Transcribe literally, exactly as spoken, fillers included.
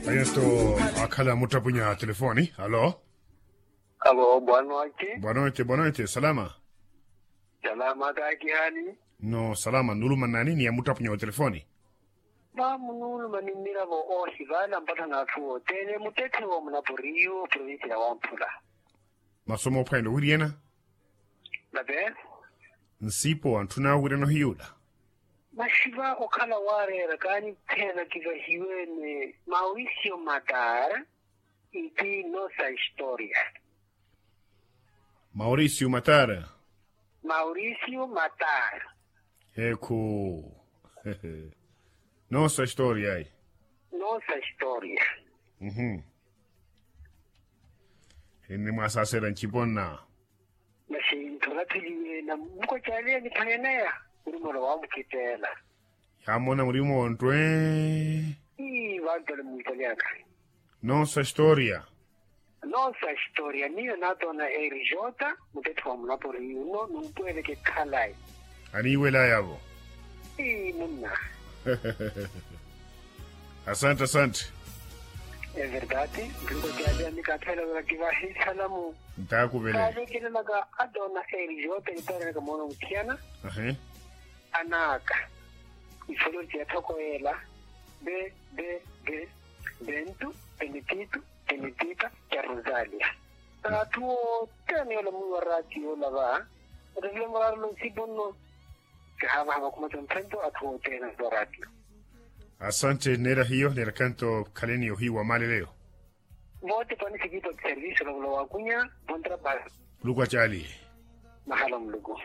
Eto akhala muttapunya telefoni. Alo. Alo, boa noite. Boa noite, boa noite. Salama. Salama kaakihani. No salama. Nuluma nani ni ya muttapunya wa telefoni? Mamu nuluma ni mmiravo oohivaana mpatthana atthu othene muttetthe wa munaporiyu provincia ya wamphula. Masomo ophwanela owiriyana. Nate. Nsipo antthuna owiriyana ohiyuula. Maxiva okhala waareera kaanittheena kivahiwene mauricio matar. Iti nossa história. Mauricio matar. Mauricio matar. Ekhu. Nossa história ai. Nossa história. Uhum. Enni mwasasera nciponna. Masi nthu natheliwe na mukwacaaliya niphaneneya. Murumolo wamukhitela. Yaamona murimo ntwe. Ii vantu ali muntaliaka. Nossa história. Nossa história niyo naatoona eri jota. Mutettho wa munapori yuno numpweleke khalayi. Aniiwelayavo. Ii munna. Asante asante. Everdade. Mpingo jaja nikathela wela kivahi salamu. Ntaakuvele. Kaavekelelaka atoona eri jota nitarenaka moona muthiyana. Ahe. Anaaka. Ifolo ti yathokoyela. Be be be. Bentu, benetitu, benetita, ya rosalia. Atthu othene yoola mwiwa ratio yoola va. Ottavile murarelo nsipo nno. Kihavaha vakhumatha mphento atthu othene mwiwa ratio. Asante neera hiyo neera kanto khaleni ohiyu wa maaleleyo. Vote pani sikipa kiservice olavula wakunya. Vontra basi. Muluku acaali. Mahala muluku.